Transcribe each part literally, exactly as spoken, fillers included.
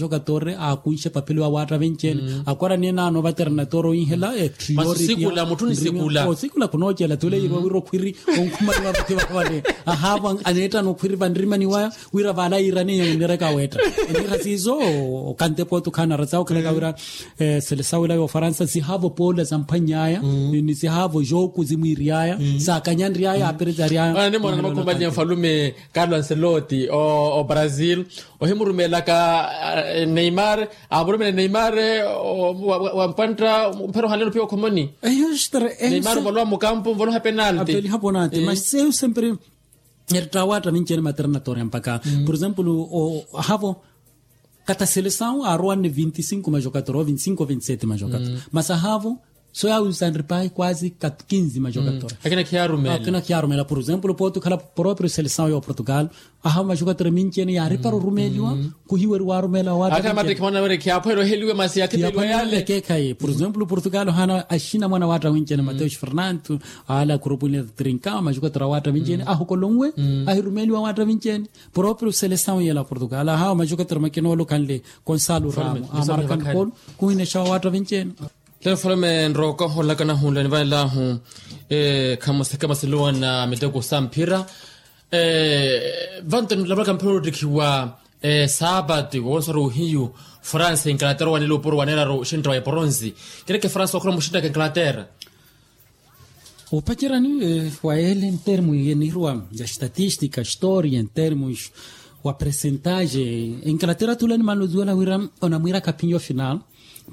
Jokatori aakunxe papelo awaatta venci-ene. Akwarani enaano vaterana tooro inhela ettiyo. Masu sikula mutthu ni sikula. Osikula khunoocela tule yirwa wira okhwiri onkhumaliwa vativavale. Ahaavo aneettana okhwiri vanrimani waya wira vaala yiirani eyo nireka weetta. Enira siiso okantepa otukhaana raza okhalaka wira selesawu ila ya ofaransa sihaavo poola zamphwanny'aya ni sihaavo jooku zimwiiry'aya saakanyanry'aya aperezary'aya. Mwana ni mwana ni makhumalinya mfalume carlo ancelotti o brazil ohimurumeelaka neymar. Aamurumele neymar wampwantta mphero ohanleno piya okhomoni. Neymar ovolowa mukampu ovolowa penalti. Apeliha ponati mas eyo sempre eretta awaatta vinci-ene materna toreya mpaka por exemplo ahavo kata selesawu aarowanne vinti cinco majokatora o vinti cinco vinti sete majokatora mas ahavo so yaawisanripahi kwasi ka quinze majokatora. Akina khiyaarumela por exemplo pooti okhala proprio selesawu ya oportugal. Ahawo majokatora minci-ene yaaripara orumeeliwa khuhiweriwa arumeela awaatta. Akina matriki mwana wene khiyaaphwere oheliwe masi yakhiteliwa yale. Ekeekhayi por exemplo portugal ohaana axina mwana awaatta winci-ene mateus fernanto ale akhurupu nile trinka majokatora awaatta minci-ene ahukolonwe ahirumeeliwa awaatta minci-ene. Proprio selesawu yela portugal ahawo majokatora makina ole okhanle konsalo ramo amarakan polo khuhinexawa awaatta vinci-ene. Te mfalume nrooka ohoolaka nahunla nivanel'ahu khamuseke masiluwa na miteko sa mphira. Vanto nilavalaka mphira oottikhiwa saapati woonsora ohiyu france inglaterra owanela opuro waneeraru oxintta wa eporonsi. Kireke france wakhula muxinttaka inglaterra. Opacerani wa ele entermu yeniruwa ya estatistika historia entermu wa presentaje. Inglaterra tula ni maluzuwela wira onamwira kapinyo final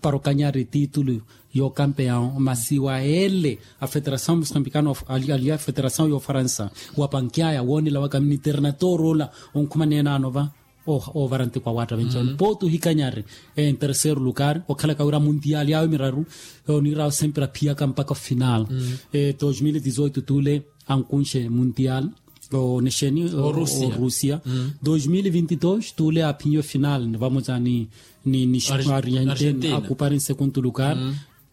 para okanyari titulu yo kampeon masi wa ele a federasaw musambikano aliya federasaw yo faransa wa pankyaya wonela waka miniterna torola onkhumana enano va. Ovara ntiko awaatta venci-ene pooti ohikanyari en terceiro lugar okhalaka wira muntiali awe miraru onirawo sempre aphiyaka mpaka ofinal. Dos mil e dezoito tule ankunxe muntial onexeni orusia. Dos mil e vinti dos tule aphinye ofinal vamotsa ni ni ni argentine akupari nsekuntu lugar.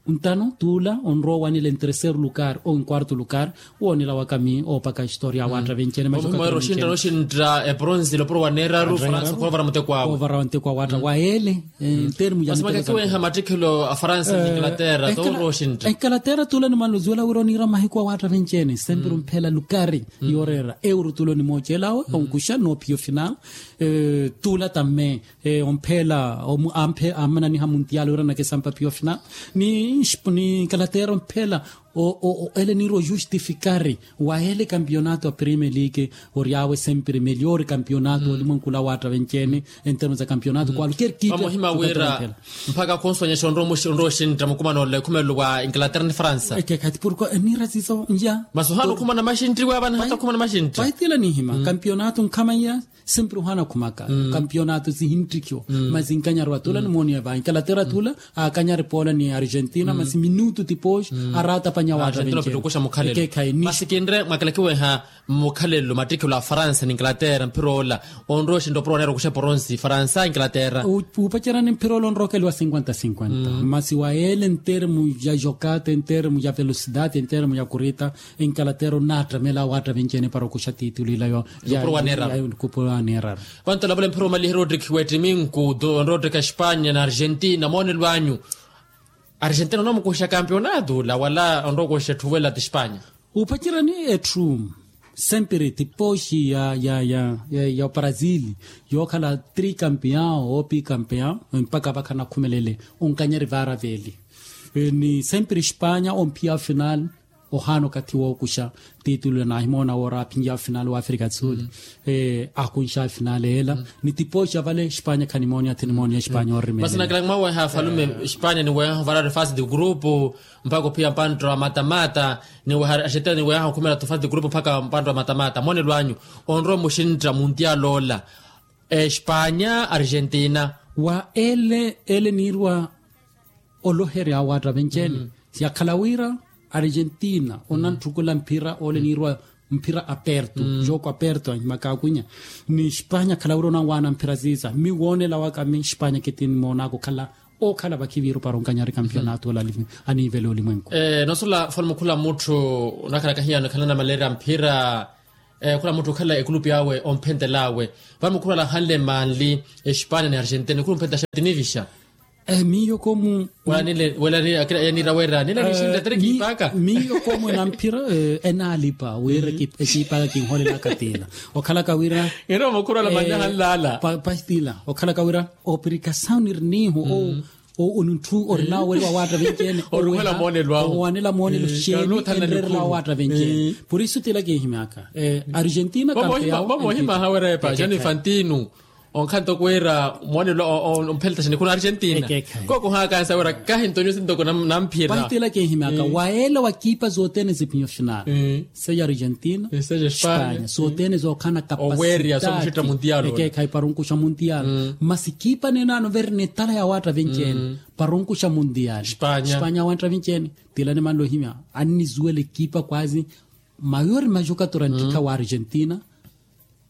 Ntano tula onrowa owanela en terceiro lugar ou en quarto lugar. Woonela wakami oopaka historia awaatta venci-ene majoka. Oxintta eporonsi lopuro waneeraru france khulovara muteko awe ovara wa nteko awaatta wa ele. Ntermu ya masi makakiweha mattikhelo a faransa ni inglaterra tooro oxintta. Inglaterra tula ni maluzuwela wira oniira mahiku awaatta venci-ene sempre omphela lukari yooreera euro tula onimoocel'awe onkuxa noophiya ofinal. Tula tamme omphela amananiha muntial wira nakesampa piyo final ni inglaterra omphela. Ele niiri ojustifikari wa ele kampionato a premier league ori awe sempre meliori kampionato olimwenku ula waatta venci-ene. En termu za kampionato kwalker kitu. Vamohima wira mpaka khonsonyesha onrowa oxintta mukumano ole khumelelo wa inglaterra ni faransa. Ekekhathi porkua niira siso nja masi ohaana okhumana maxintti wa vana hata okhumana maxintti. Paitila nihima kampionato nkhamaiya. Sempre ohaana khumaka kampionato sihinttikiwa masi nkanyari wa tula nimooniya va inglaterra tula akanyari poola ni argentina masi minutu tipooxi araatapanya waatta venci-ene. Ekekhayi masi kinre mwakalakiweha mmukhalelo mattikhelo a faransa ni inglaterra mphira ola onrowa oxintta opuro waneera okuxa eporonsi faransa inglaterra. Wuupacerani mphira ola onrowa okeliwa cinquenta cinquenta masi wa ele entermu ya jokata entermu ya velocidade entermu ya kurita. Inglaterra onaattamela awaatta venci-ene para okuxa titulu ila yo. Kupuro waneeraru. Vanto olavula mphira omaliherya ottikhiwa ettiminku onrowa ottikha espanya na argentina moonelo anyu. Argentina onamukuxa kampionato ula wala onrowa okuxa etthu wela ti espanya. Upacerani etthu sempre tipooxi ya ya ya ya ya oprazili yookhala tri kampion ou pi kampion mpakha vakha nakhumelele onkanyari vaara veeli. Ni sempre espanya omphiya ofinal ohaana okathi wookuxa titulu ya naahimoona woora aphinyawe ofinal wa afrika tsuli. Akunxa ofinal ela ni tipooxa vale espanya khanimooniya thinimooniya espanya orimela. Masi nakilaki mwaweha afalume espanya niweha ovarari fasi di grupu mpaka ophiya mpantta wa matamata niweha argentina niweha okhumela tu fasi di grupu mpaka mpantta wa matamata moonelo anyu onrowa muxintta muntial ola. Espanya argentina. Wa ele ele niirwa oloherya awaatta venci-ene yakhala wira argentina onantthukula mphira ole niirwa mphira aperto jooko aperto anyima kaakunya. Ni espanya akhala wira onanwaana mphira ziiza mmi woonela waka mmi espanya kitinimoonaka okhala okhala vakhiviiru para onkanyari kampionato ola aniivela olimwenku. Nosola falume okhula mutthu onakhalaka hiyaano ekhala namaleerya mphira. Khula mutthu okhala ekulupi awe omphentel'awe. Vano mukhurwala ahanle manli espanya ni argentina nikhuru mphenta xatinivixa. Miyo komu. Wela niira wira nila nixinla tere kiipaka. Miyo komu enamphira enaalipa wira ekiipaka kinholelaka tila. Okhalaka wira. Ino mukhurwala manli ahanle ala. Pastila okhalaka wira. Oprikasawu nirinihu. Onunthu orinawo weri wawaatta venci-ene. Owanela moonelo awo. Owanela moonelo xeeni enrerela wawaatta venci-ene. Purisu tila kinhimyaka. Argentina kampeya. Vamoohimaha wira epa jani fantinu. Onkhanto kuwira moonelo ompheletaxa nikhuna argentina. Kokohakansa wira kahi ntonyo sintoko namphira. Pantila kinhimyaka waela wakipa zotene zipinyo final. Seya argentina. Espanya zotene zokhana kapasitati. Ekeekhayi para onkuxa muntiyalu. Masi kipa nenano veri netala yawaatta venci-ene. Para onkuxa muntiyalu. Espanya yawaatta venci-ene. Tila nimanle ohimya annizuwela ekipa kwazi. Mayori majokatori anttikha wa argentina.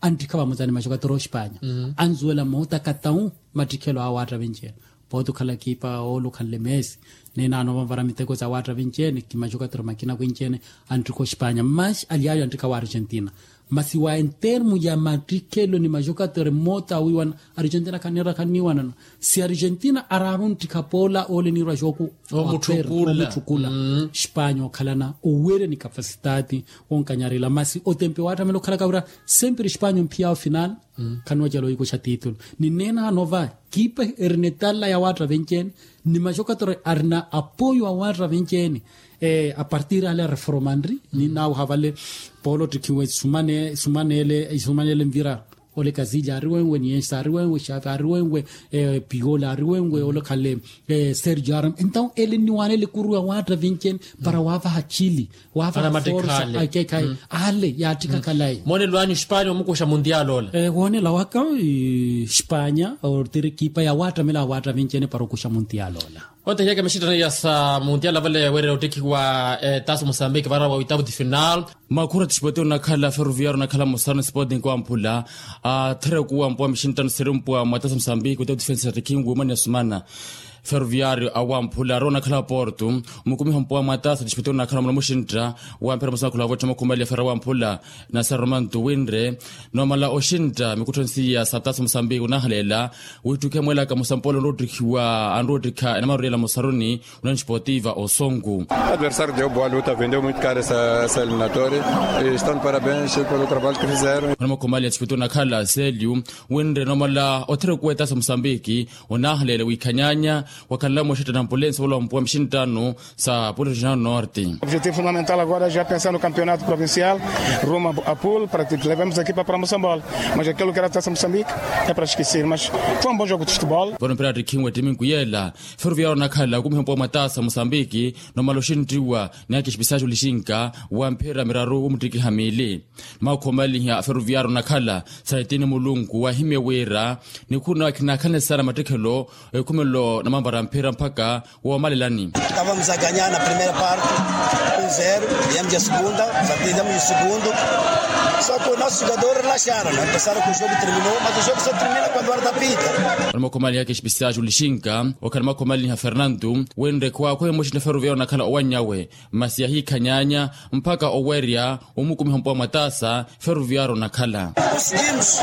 Anttikha vamutani majokatori ospanya. Anzuwela moota katawu mattikhelo awo awaatta venci-ene. Pooti okhala ekipa oole okhanle mesi. Ninaano vanvara miteko za waatta venci-ene kimajokatori makina kwenci-ene. Anttikha ospanya masi alyaayo anttikha wa argentina. Masi wa entermu ya mattikhelo ni majokatori moota awiiwana. Argentina khanniira khanniiwanana. Si argentina araaru nttikha poola oole niirwa xooku. Omutthukula. Espanya okhalana owerya ni kapasitati. Wonkanyarela masi otempe waattamela okhalaka wira. Sempre espanya omphiyaawo final. Khanwacela oyikuxa titulu. Ni neenaano va kipa eri netalla ya waatta venci-ene. Ni maxokatore arina apoyo a waatta venci-ene. Apartir ale areformanri ninnawo havale. Polo ottikhiwe sumanele nvira. Ole kazilya ari wenwe niensa ari wenwe xavi ari wenwe. Piola ari wenwe ole khale. Sergio aram entaw ele nniwanele kuru ya waatta venci-ene. Para waavaha chili waavaha forsa. Ale yaattikha khalayi. Moonelo anyu espanya omukuxa muntiyaali ola. Woonela waka espanya ortiri ekipa ya waattamela ya waatta venci-ene para okuxa muntiyaali ola. Otehyeke mixitthano ya sa muntiyaali avale wira ottikhiwa. Taso musambiki vara wa oitavu ti final. Makhura ti sipoti onakhala ferroviario onakhala musano sipoti nkwamphula. Atherekuwa mpuwa mixinttano siri mpuwa mwatasa musambiki oitavu ti final sattikhinwe omani ya sumana. Ferroviario awamphula arowa onakhala porto. Mukumiha mpuwa mwatasa ti sipoti onakhala mulamuxintta. Wamphera musano khula vottha makhumali ya fera wamphula. Nasaroma ntuwinre. Nomala oxintta mikutthonsi ya satasa musambiki onahaleela. Wittukhe mwelaka musampolo onroottikhiwa anroottikha enamaru yela musaruni. Unanxipotiva osonku. Adversario de oboa luta vendeu muito cara essa eliminatória. Estão de parabéns pelo trabalho que fizeram. Onamakhomali ya txipitu onakhala selio. Winre nomala othirekuwa etasa musambiki. Onahaleele wikhanyanya. Wakhanla mwexitta na ampulensi wala wampuwa mixinttano. Sa pulirixinano norte. Objetivo fundamental agora já pensar no campeonato provincial. Rumo a pool para que levemos a equipa para mosambola. Mas aquilo que era tasa musambiki é para esquecer mas foi um bom jogo de futebol. Vano mpira attikhinwe ettimi nkuyela. Ferroviario onakhala okumiha mpuwa mwatasa musambiki. Nomala oxinttiwa ni akixipisaxi olixinka. Wa mphira miraru womuttikiha miili. Makhomaliha ferroviario onakhala. Saitini mulunku wahimye wira. Nikhuna wakhinakhane sana mattikhelo. Ekhumelo na mampara mphira mpakha. Woomalelani. Tava muzaganyana primeira parte. Zero. Yamuzya segunda. Zatiza muyu segundo. Soko nosu jugador relaxaron empesaron ku jogo terminou mas o jogo só termina kuando ora tapita. Onimakhomaliha kexipisiaxi olixinka. Okhanimakhomaliha fernandu. Wenre khwakhwehe muxinna ferroviario onakhala owanyawe. Masi yahiikhanyanya. Mpakha owerya. Omukumiha mpuwa mwatasa. Ferroviario onakhala. Conseguimos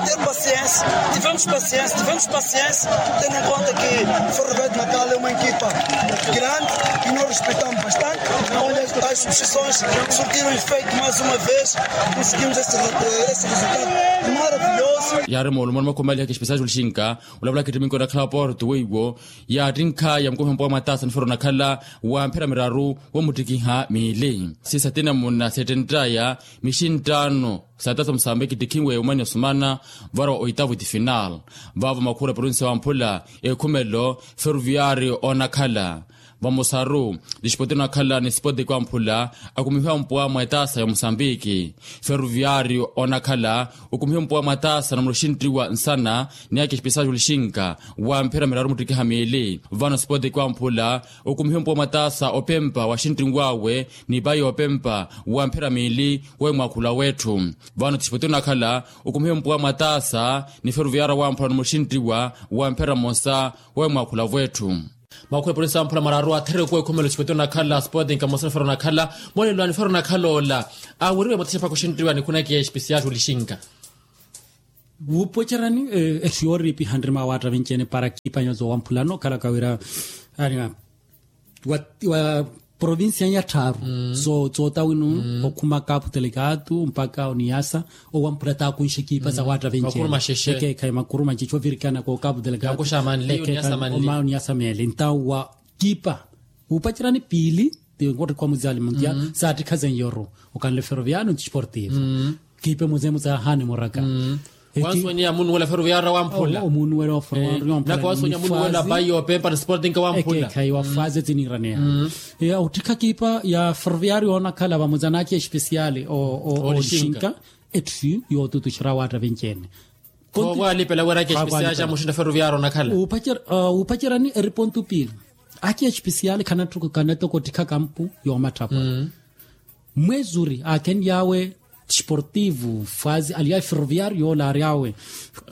ter paciência. Tivemos paciência tivemos paciência. Tendo em conta que ferroviario onakhala é uma equipa grande. E nós respeitamos bastante. As substituições surtiram efeito mais uma vez. Conseguimos esse resultado maravilhoso. Yaari moolumo onimakhomaliha kexipisiaxi olixinka. Olavulaka ettiminki onakhala porto weiwo. Yaattinkha ya mukumiha mpuwa mwatasa ni ferroviario onakhala. Wa mphira miraru womuttikiha miili. Siisa tina munna seettenttaya. Mixinttano satasa musambiki ttikhinwe omani osumana. Vara wa oitavu ti final. Vaavo makhura provincia wamphula. Ekhumelo ferroviario onakhala. Vamosaru. Tixipoti onakhala ni sipoti kwamphula. Akumihiwa mpuwa mwetasa ya musambiki. Ferroviario onakhala. Okumihiwe mpuwa mwatasa na muloxinttiwa nsana. Ni akixipisaxi olixinka. Wa mphira miraru muttikiha miili vano sipoti kwamphula. Okumihiwe mpuwa mwatasa opempa wa xinttinwawe. Ni payi opempa wa mphira miili. Wa emwakhula wetthu. Vano tixipoti onakhala. Okumihiwe mpuwa mwatasa ni ferroviario wamphula ni muloxinttiwa. Wa mphira mosa. Wa emwakhula wetthu. Makhwepo ni samphula mararu atherekuwa ekhumelo sipoti onakhala sipoti nkamosa nifero nakhala. Mwene lwani fero nakhala ola aweriwe mwatisha paka oxintiwa nikhuna kiya espesial olixinka. Wuupocerani etthu yooriipiha nrima waatta vinci-ene para kiipa nyozo wamphulano khalaka wira wa provincia ya tthaaru soota wino okhuma kapu telekatu mpaka oniyasa. Owamphula taakunxe kiipa za waatta vinci-ene. Ekeekhayi makuru maxexe ovirikana ko kapu telekatu. Oma oniyasa meele ntawa kiipa wuupacerani piili. Tinkottikha muzali muntia saattikha zenyoru okanle feroviano nti sportivo. Kiipe muzemu zaahani muraka. Wansoniya munuwela feroviaro wamphula. Omunuwela feroviaro wamphula nako wansoniya munuwela bayi yopempa na sporting wamphula. Ekeekhayi wafaze tiniiraneya ya ottikha kiipa ya feroviaro yoonakhala vamuza naaki espesiali olixinka. Etthu yootutuxera waatta vinci-ene. Khowalipela wira aki espesiali ja muxinta feroviaro onakhala. Wuupacerani eripontu piili aki espesiali khanattoka ottikha kampu yoomatthapwa. Mwezuri aakhenly'awe sportivo fazi alyawe feroviario yoola aryawe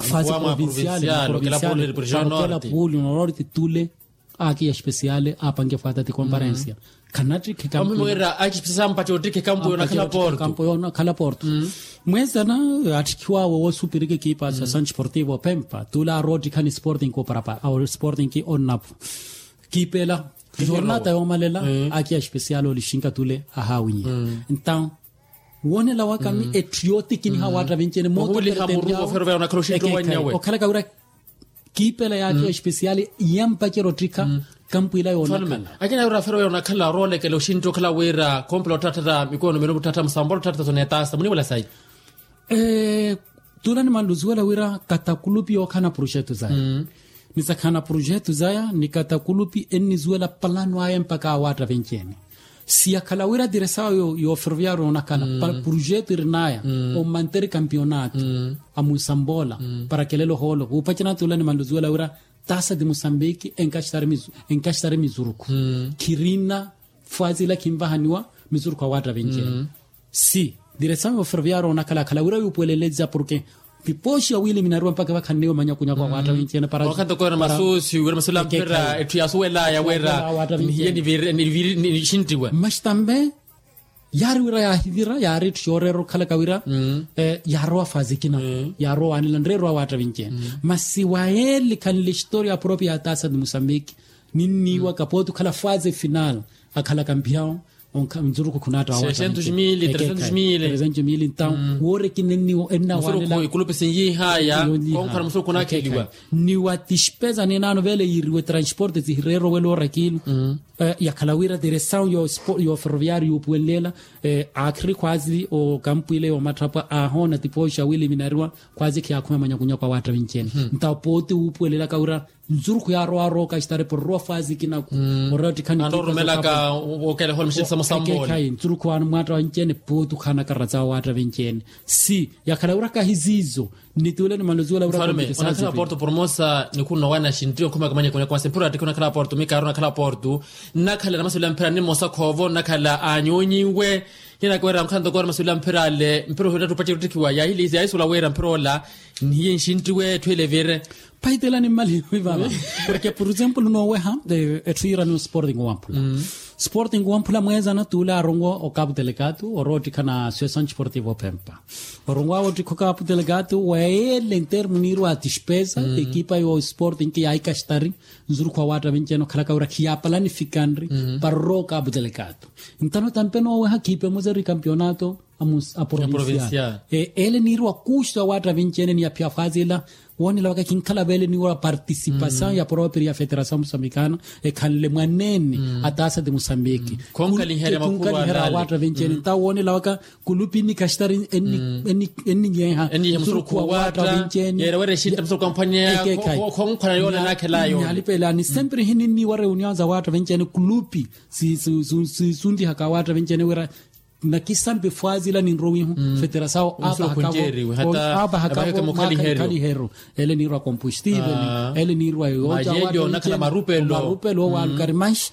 fazi provincial provincial. Puli nolori titule aki espesiale apange fata ti comparensia. Khanattikhe kampu wira aki espesiale ampattiwa ottikhe kampu yoona khala porto. Mwezana attikhiwawe woosupirika ekipa associação desportivo pempa tule aroottikhani sporting ko parapara awo sporting ki onnapo. Kiipela jornata yoomalela aki espesiale olixinka tule ahaawinye. Entaw woonela waka mi etthu yootikiniha waatta vinci-ene mooto pertendiawe okhalaka wira kiipela yaakhiwa espesiali yampacera ottikha. Kampwiila yoonakhala akina wira feroviaro onakhala oroolekela oxintti okhala wira kompela otthattha mikono mene mutthattha musambolo otthattha sonetasa muniwela sayi. Tula nimanluziwela wira katakulupi yookhana projetu zaya. Ni sakhana projetu zaya ni katakulupi enniziwela palano aya mpaka awaatta vinci-ene. Siyakhala wira diresawo yo feroviaro onakhala projetu irinaya omanter kampionato amunsambola para kelelo hoolo wuupacerana tula nimanluziwela wira tasa ti musambiki enkaxitari mizurukhu. Khirina fwazila khinvahaniwa mizurukhu awaatta vinci-ene. Si diresawo yo feroviaro onakhala akhala wira yuupuweleleza porke pipoxi ya wiliminariwa mpaka vakhanniwe manyakunyaku awaatta vinci-ene para. Okhanto koona masusi wira masulamphira etthu yasuwelaya wira nihiye niviri nixintiwe. Mas tambe yaari wira yaahivira yaari etthu yooreera okhalaka wira yaarowa fazi ekina yaarowa waanela nreerwa waatta vinci-ene. Masi wayeele khanle historia propia ya tasa ti musambiki ninniiwaka pooti okhala fazi final akhalaka mpihawo. Nzurukhu khunaatta wawatta mili tresentos mili ntawo wooreki nenniwo ennawaanela. Ikulupi sinyiihaya konkhana musuru khunaakheliwa. Ni wa tispeza ninaano vele yiiriwe transporte zihireerowela orakilu. Yakhala wira diresawo yo feroviario yuupuwenlela aakhiri khwazi okampwiile yoomatthapwa aahoona tipoxi awiliminariwa khwazi khiyaakhuma manyakunyaku awaatta vinci-ene. Ntawo pooti wuupuwelelaka wira nzurukhu yaarowa arooka xitari porrowa fazi ekinaku oratikhani. Anrorumelaka okelehola mixinsa musambole. Nzurukhu mwaatta vinci-ene pooti okhanaka razawo waatta vinci-ene. Si yakhala wira kahiziizo nituule nimanluziwela wira. Onakhala porto pormosa nikhunno wana xintiyo nkhumaka manyakunyaku wasi mphira attikhi onakhala porto mikaari onakhala porto. Nnakhala namasuwela mphira nimosa khoovo nnakhala aanyonyiwe. Hinakiwera nkhanto koora masuwela mphira ale mphira ohiyo tatthu opaceri ottikhiwa yaahilizi yaahisuwela wira mphira ola nihiye nxintiwe etthu ele evire. Paitela nimmaliwe vava porke por example nooweha etthu yiiraniwa sporting wamphula. Sporting wamphula mweezana tuule aaronwa okapu telekatu oroottikhana associação desportivo pempa. Oronwaawe ottikha okapu telekatu weele ntermu niirwa atispeza ekipa yo sporting yaahikaxitari nzurukhu awaatta vinci-ene okhalaka wira khiyaapalanifikanri para orowa okapu telekatu. Ntano tampe nooweha khiipe muzeru ikampionato aprovincial. Ele niiriwa kuuxu awaatta vinci-ene ni aphiya fazila woonela waka khinkhala vele niiriwa participasaw ya propria ya federasaw musambikana ekhanle mwaneene. Atasa ti musambiki khunkhaliherya awaatta vinci-ene ntawo woonela waka kulupi ennikaxitari enninyeha nsurukhu awaatta vinci-ene. Yeera wira exinta musuru kamphwanyeya khonkhwana yoona naakhelayo nihalipeelani sempre hininniiwa reunion za awaatta vinci-ene kulupi siisunlihaka awaatta vinci-ene wira nakisampe fwazila ninrowihu feterasawo aapahaka mukhaliheru ele niirwa compostive ele niirwa yooja marupelo owalukari manxi.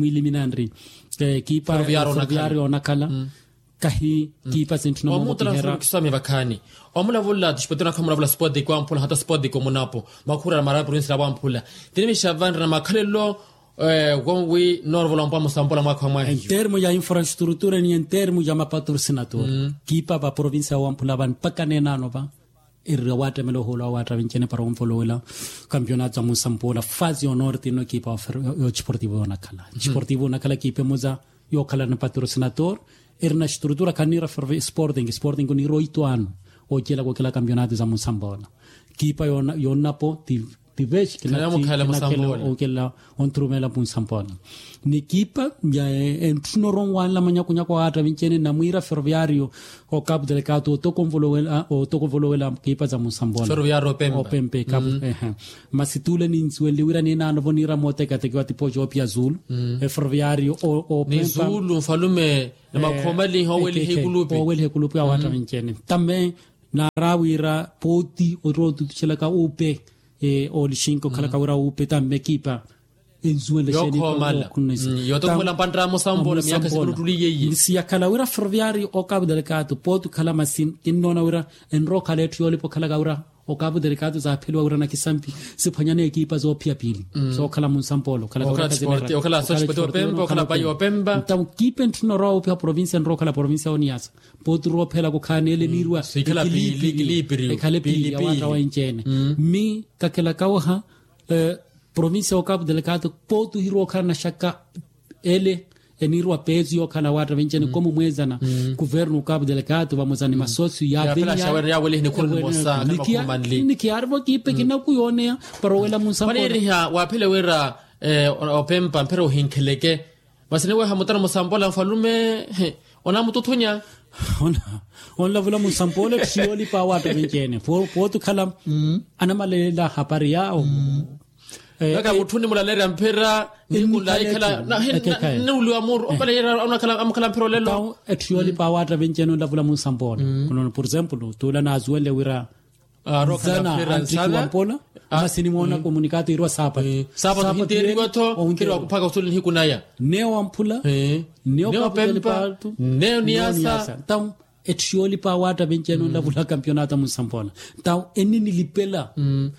mwiiliminanri kiipa ferroviario onakhala kahi kiipa sintthuna moomokiherya. Omuttara suru kiswami vakhaani omulavula tixpotiko nakha omulavula spotiko amphula hata spotiko munapo makhuurela mara provincia la wamphula tinimixa vanrina makhalelo. Wonwi noorovola ompa musampula mwaakha wa mwahiyo. Entermo ya infrastrutura ni entermo ya mapatrosinator kiipa va provincia ya wamphula vani mpaka neenano va. Erira waattamela ohoolo awo waattavince ni para onvolowela kampionato ya munsampula fasi yonorte ino ekipa ya ochiportivo yoonakhala chiportivo yoonakhala ekipa emosa yookhala ni patrosinator. Erina estrutura khaniira sporting sporting oniira oito ano. Ocelaka okela kampionato za munsampoola. Kipa yonnapo ti vexi kinakhela okelela onthurumela munsampoola. Ni kipa ya entthu norowanla manyakunyaku awatta vinci-ene namwiira ferroviario okapu delekato otokonvolowela kipa za munsampoola. Opempe kapu. Masi tule ninsuwenle wira ninaanovo niira mootekatekiwa tipoci opiya zulu. Eferroviario opempa. Ni zulu nfalume na makhoomaliha oweliha ekulupi. Oweliha ekulupi awatta vinci-ene tamme. Naara wira pooti ori otutuxelaka upe olixinka okhalaka wira upe tamme kipa ensuwenle xeeni. Yookhoomala. Yootokhumela mpantta musambola miyakha sikulutuliye iye. Siyakhala wira ferroviario okapu delekato pooti okhala masi kinnoona wira enrookhala etthu yoolipa okhalaka wira okapu delekato zaapheliwa wira nakisampi siphwanyane ekipa zoophiya piili. Sookhala munsampoola okhalaka wira kazineraka okhala sospoti opempa okhala payi opempa. Ntawo kipa entthuna orowa woopiha provincia enrookhala provincia oniyasa. Pooti roophela kukhaana ele niiriwa sikhala piili piili piili ekhale piili awatta wenci-ene. Mi kakhelaka waha provincia okapu delekato pooti ohirowa okhala naxakka ele eniiriwa peesu yookhala awatta vinci-ene komu mweezana kuvernu okapu delekato vamosa ni masosio yaapinya. Nikiyaarivo kiipe kinaku yooneya para owela munsampoola. Paniiriha waaphele wira opempa mphira ohinkheleke. Masi niweha mutana musampola nfalume onamututhunya. Onlavula musampola etthu yoolipa awatta vinci-ene pooti okhala anamalelela hapari yaawo. Naka mutthuni mulaleerya mphira nikunlaikhala niwuliwa muru opaleerya amukhala mphira olelo. Etthu yoolipa awatta vinci-ene onlavula munsampoola. Por exemplo tuula naasuwenle wira nzana anttikiwa mpola. Masi nimoona komunikato iriwa saapatu saapatu hinteeriwa-tho. Onkeriwa kuphaka osuli nihiku naya neyo wamphula neyo kaputeli paatu neyo niyasa. Ntawo etthu yoolipa awatta vinci-ene onlavula kampionato munsampoola. Ntawo eninilipela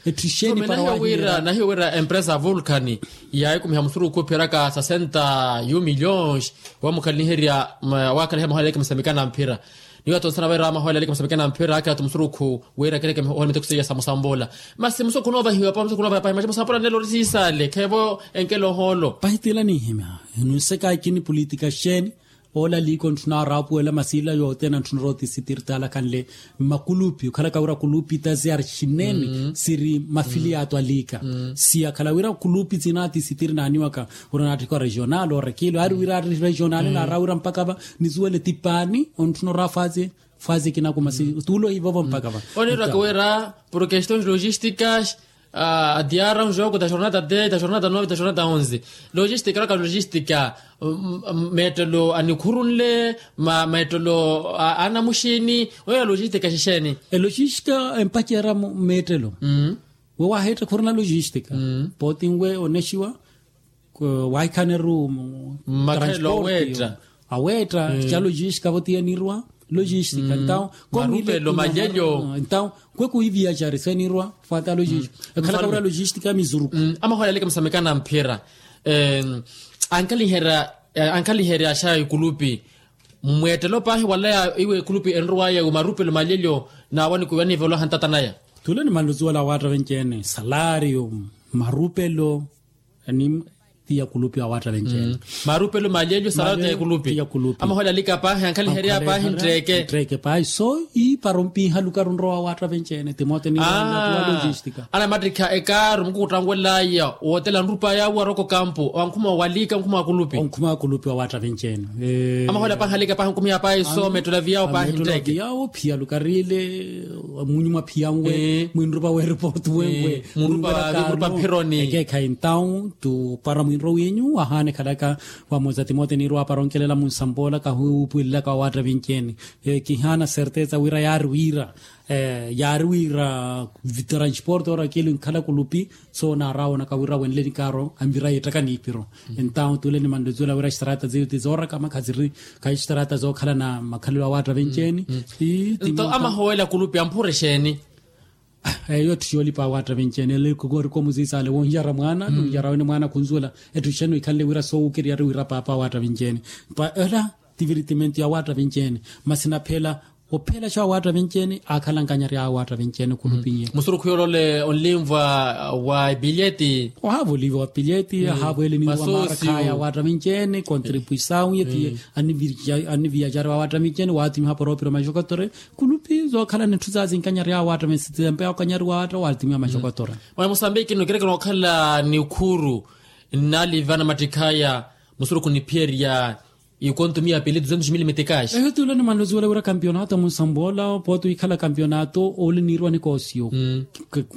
etthu ixeeni para wira nahiyo wira empresa vulcan yaahikumiha musurukhu opheraka sasenta yu milhões wamukhalaniherya waakhalaniherya mahoyaleke musamikana mphira. Niyo atonsana vaira amahoyala aleke musamekena mphira ake atu musurukhu wira akereke ohola miteko seiya sa musambula. Masi musurukhu noovahiwa pahi musurukhu noovahiwa pahi masi musambula nelo ori siisale kheevo enkela ohoolo. Pahi tila ninhimya nunsekaayi kini pulitika xeeni. Ola liiko ntthuna araapuwela masi ila yothene ntthuna rooti sitiri taalakhanle mmakulupi okhalaka wira kulupi ta siyari xinene siri mafiliyato a liika. Siyakhala wira kulupi sinaati sitiri naaniwaka wira naatthikwa regional orekilo aari wira ari regional naara wira mpakha va nisuwele ti paani. Ontthuna oraafaazi faazi ekinaku masi tuula ohivovo mpakha va. Oneerwaka wira por questions logisticas adiara un jogo da jornada dez da jornada nove da jornada onze. Logistica eraka logistica meettelo anikhurunle meettelo anamuxini oneera logistica exexeeni? Elogistica empacerya meettelo. We waaheetta khurina logistica pooti nwe onexiwa. Waahikhaneru mmakhalelo aweetta aweetta ca logistica vo ti enirwa logistica ntawo marupelo malyelyo ntawo kwe kuhiviya cari senirwa fata logistica ekhalaka wira logistica ya mizuruku. Amahoyaleke musamekana mphira ankhaliherya ankhaliherya xa ikulupi mweettelo paahi wala iwe ikulupi enirwaya wi marupelo malyelyo naawanikiwa niivoloha ntata naya. Tule ni manluziwala awaatta venci-ene salario marupelo ni ti ya kulupi awaatta venci-ene. Marupelo malyelyo salario ti ya kulupi. Amahoyaleke paahi ankhaliherya paahi ntteeke ntteeke paahi so iiparo mpiiha lukaru nrowa awaatta venci-ene timote ni logistica. Anamattikha ekaaru mukukuttangwelaya wootela nrupa yawo aroko kampu onkhuma waliika onkhuma wa kulupi onkhuma wa kulupi wa waatta venci-ene. Amahoyala paahi alika paahi onkumiha paahi so meettelo aviyawo paahi ntteeke. Yawo phiya lukariile munyuma phiya nwe mwinrupa w'eripooti wenwe munrupa mphironi. Ekeekhayi ntawu tupara mwinro winyu wahaanekhalaka vamosa timote niirwa para onkelela munsampoola kahuupwililaka wa waatta venci-ene. Kihaana certeza wira yaari wira yaari wira transporte orakili nkhala kulupi so naaraawonaka wira wenle nikaaro anvira yeettaka niipiro. Entawu tule ni manluziwela wira xtarata ziyo ti zooraka makha ziri khayi xtarata zookhala na makhalelo awaatta venci-ene. Nto amahoyela kulupi amphure xeeni? Eyo etthu yoolipa awaatta venci-ene ele khukoorikomuziisale wonjara mwaana nunjara wene mwaana khunzuwela. Etthu xeeni wikhanle wira soowukeriyari wira paapa awaatta venci-ene pa ela tivirtimento ya waatta venci-ene. Masi naphela Ophelaxa awaatta vinci-ene aakhala nkanyari awaatta vinci-ene khulupinye. Musurukhu yoolole onlinvwa wa epileti. Ohaava oliva wa pileti ahaava eleniwa maarakhaya awaatta vinci-ene kontripuisawu yetiye. Anniviyaxari awaatta vinci-ene waatimiha poropiro maxokotore. Khulupi zookhala nitthu zaazinkanyari awaatta vinci-ene sitempe okanyari waatta waatimiha maxokotore. Mwa musambiki nno kirekera okhala ni ukhuru nnalivana mattikhaya. Musurukhu niphiyerya ikontu miya pili duzentos mili mitikaxi. Eyo tuula ni manlozi wala wira kampionato munsambola pooti wikhala kampionato ole niirwa nikoosiyo.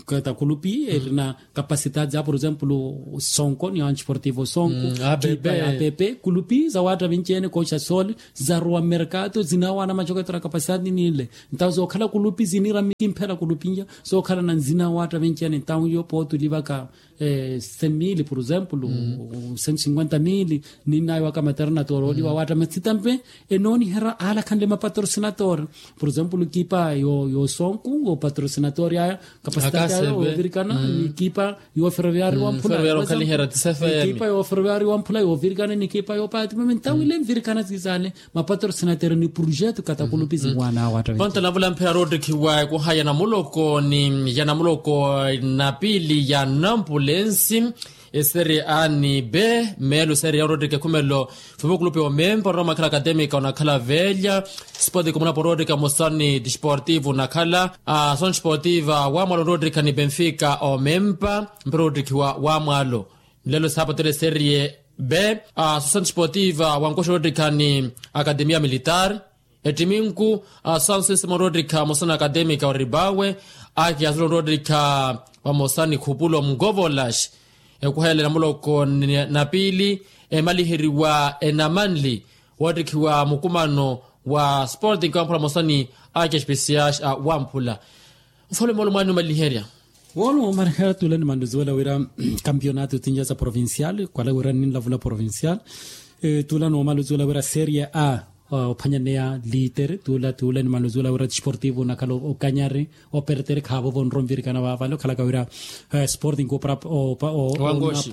Kata kulupi erina kapasitati za por exemplo sonko ni antisportivo sonko kipa ya pepe kulupi za watta vinci-ene kooxa sole zarowa merkato zinawana macoketora kapasitati nile. Ntawo zookhala kulupi zinira mikimphela kulupinya zookhala na nzina watta vinci-ene ntawo iyo pooti olivaka cem mili por exemplo cento cinquenta mili. Ninnayo waka maternatory oliwa watta matsitampe enooniherya alakhanle mapatrocinatory. Por exemplo kipa yo sonku yo patrocinatory aya kapasitati aya yovirikana ni kipa yo ferroviari wamphula. Kipa yo ferroviari wamphula yovirikana ni kipa yo patimame ntawo ile mvirikana zizale. Mapatrocinatero ni projeto katakulupi ziwana watta vinci-ene. Ponto navula mphela roottikhiwa ekuha ya namuloko ni ya namuloko na piili ya nampulensi. Eseri a ni be meelo eseri ya roottika ekhumelo. Fupukulupi omempa onrowa mwakhala akatemika onakhala velya sporting munapo roottika musani disportivo nakhala. Asoni sportiva wamwalo roottika ni benfica omempa mphela roottikhiwa wamwalo. Nlelo saapatela eseri ye be asosani sportiva wankoxa roottika ni akatemia militar. Ettiminku asansisima roottikha vamosa na akatemika oribawe. Akiyasula roottikha vamosa ni khupulo mngovolax. Ekuhayela namuloko na piili emaliheriwa enamanli woottikhiwa mukumano wa sporting wamphula vamosa ni akespesiax a wamphula. Nfalume olo mwaani omaliherya. Woolumo omaliherya tuula ni manluziwela wira kampionato tinja sa provincial kwala wira ninlavula provincial. Tuula ni omaluziwela wira serie a ophanyaneya litere tuula tuula ni manluziwela wira disportivo nakhala okanyari opertere khaavovo onrwa onvirikana vaavale okhalaka wira sporting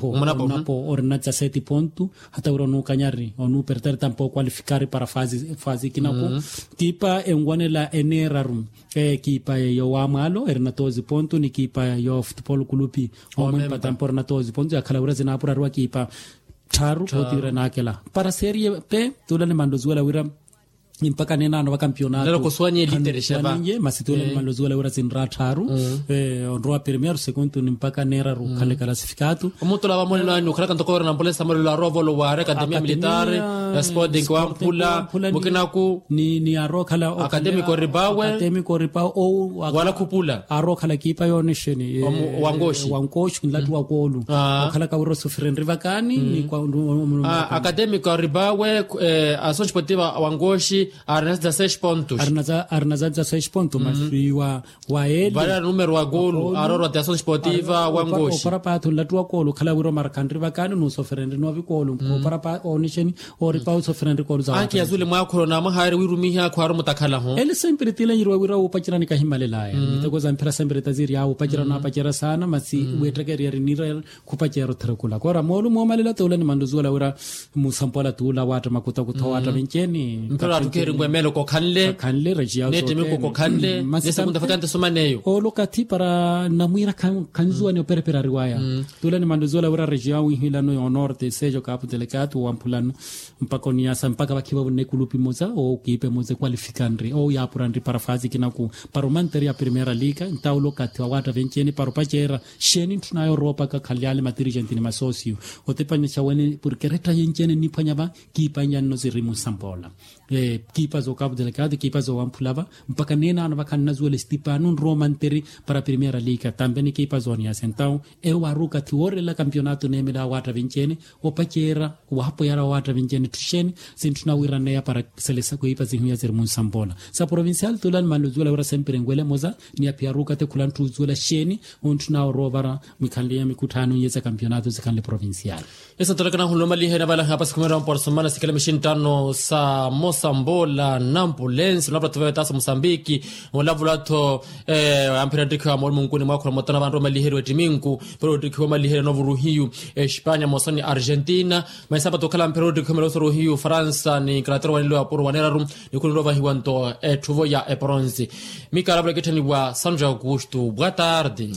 onapo orina dezasete ponto. Hata wira onuukanyari onuupertere tampa okwalifikari para fazi kinaku. Kipa enwanela eneeraru. Ekipa yo wamwalo erina doze ponto ni ekipa yo futupolo kulupi omwempata mpora na doze ponto yakhala wira zinaapurariwa kipa tthaaru pooti wira naakela para serie pe. Tuula ni manloziwela wira ni mpaka nenaano va kampionato. Masi tuula ni manloziwela wira zinra tthaaru onrowa primeiro segundu ni mpaka neeraru khalekala. Omuttula vamonelo anyu okhalaka ntoko wira na ambulensi amolelo aroovolo wa akatemia militari ya sporting wamphula mukinaku ni arookhala akatemiko ripawe. Wala khupula arookhala kipa yoonexeni wankoxi nlattu wa koolu okhalaka wira osoferenri vakani ni kwa akatemiko ripawe. Asoxi potiva wankoxi arina za dezasete pontos. Arina za dezasete pontos masi wa wa ele vale a numero wa golo aroorwa ti asoxi potiva wankoxi opara paathu nlattu wa koolo okhala wira omarakhanri vakani nusoferenri noovikoolo opara pa oonixeni. Oripa osoferenri koolo za anki yazule mwaakholo namwahaari wirumiha khwaaru mutakhalahu. Ele sempiri tiilanjiriwa wira wuupacerani kahimalelaya miteko za mphira sempiri taziryaawe wuupacerana apacerya saana masi weettekerya rinira khupacerya othira khula koora moolu moomalela toolani manluzuwela wira musampola tuula waatta makutakutha waatta venceeni. Mphira atthu kheerinwe meelo kokhanle kakhanle rejiya neettimiko kokhanle nesekunta fakanti esumaneyo. Oolo kathi para namwiira khanzuwani operepera ariwaya. Tuula ni manluzuwela wira rejiya winhilano yoonorte sejo kapu telekatu wamphulano mpaka oniyasa mpaka vakhiva vunne kulupi moza owo kiipe moza ekwalifikanri owo yaapuranri para fasi kinaku para omanteria primera liga ntawula okathi wa waatta venceeni para opaceera. Xeeni ntthuna yooroopaka khalyale matirigenti ni masosiyo otepanyaxa wene porke rettaye nceene nniphwanya va kiipa nyanno siri musampoola. Kiipa zookapu telekati kiipa zoowamphula va mpaka neenaano vakhannazuwela estipano nroomanteri para primera liga tampe ni kiipa zooniyasa entawu eyo waaruka thi woorelela kampionato neemela awaatta venceene opaceera wahapoyara owaatta venceene tthixeeni sintthuna wiiraneya para selesa kwiipa sihiya siri musampoola sa provincial tuula ni manluzuwela wira sempiri enwele moza ni aphiya aruka thi khula ntthu uzuwela xeeni ontthuna oroovara mwikhanle ya mikutthaano iye sa kampionato sikhanle provincial. Esa tolekana hunlomalihe na vala hapasi khumera mporosomana sikele mixintano sa mosambola nampulensi na vula tuveve tasa mosambiki. Olavula tho amphira ttikhiwa mori munkuni mwakhula motana vantu vamaliheriwe ttiminku. Pero ttikhiwa maliheriwe novuruhiyu espanya mosoni argentina. Maisamba tokhala amphira ttikhiwa malosoruhiyu faransa ni inglaterra wanilo apuro waneraru. Nikhunilo vahiwa nto etthuvo ya eporonsi. Mikalavula kitthaniwa sanjo augusto bwa tardi.